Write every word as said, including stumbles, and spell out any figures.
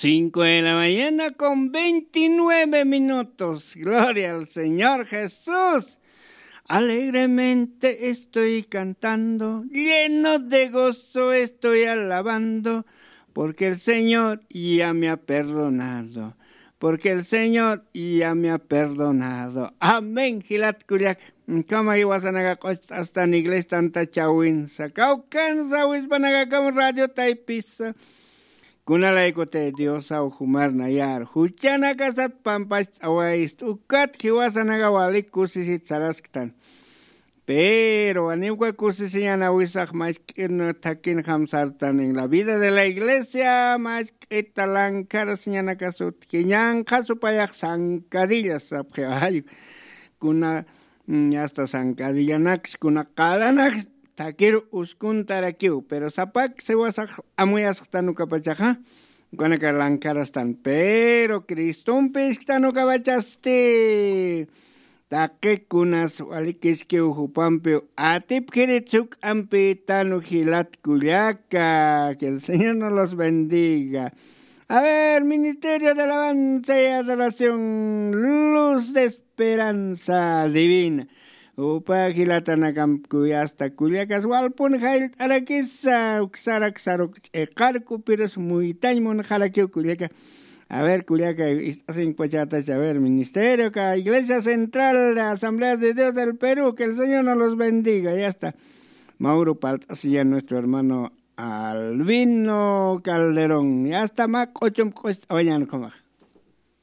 Cinco de la mañana con veintinueve minutos. Gloria al Señor Jesús. Alegremente estoy cantando, lleno de gozo estoy alabando, porque el Señor ya me ha perdonado. Porque el Señor ya me ha perdonado. Amén. Jilat kullak. Kama iwasanaka q'ochastan iglesia tanta chawinsa. Kawkansa wispanaka kam radio taypisa. Kunalaykute Diosaw jumarnayar, juchanakasat pampachawayist, ukat jiwasanaka walik kusisit sarasktan. Pero waniwka kusisiñanawisax machk'in thakin jamsartan en la vida de la iglesia, machk'ita lankarasiñanakasut jiñanqha supayax sankadillas sapxiwayu. Kuna mm, hasta sankadillanaks kuna qalanaks thakiru uskuntarakiw, pero sapak siwasax amuyasxtan ukapachaxa, ukanaka lankarastan, pero Cristompi isktan ukapachasti. Taqikunas walikiskiw jupampiw atipkirit suk'ampi tanu jilat kullaka. Que el Señor nos los bendiga. A ver, Ministerio de Alabanza y Adoración, Luz de Esperanza Divina. Upa jilatanakampi kuyasta kullakas walpun jayllt'arakisa, uksarak saruk ch'iqarku, pirus muytañ munxarakiw kullaka. A ver, kullaka, ist'asinkpachatacha, a ver, ministerio ka Iglesia Central de Asamblea de Dios del Perú, que el Señor nos los bendiga, ya está. Mauro palt'asiña nuestro hermano Albino Calderón, ya está, mä q'uchum q'ust'awañan khumax.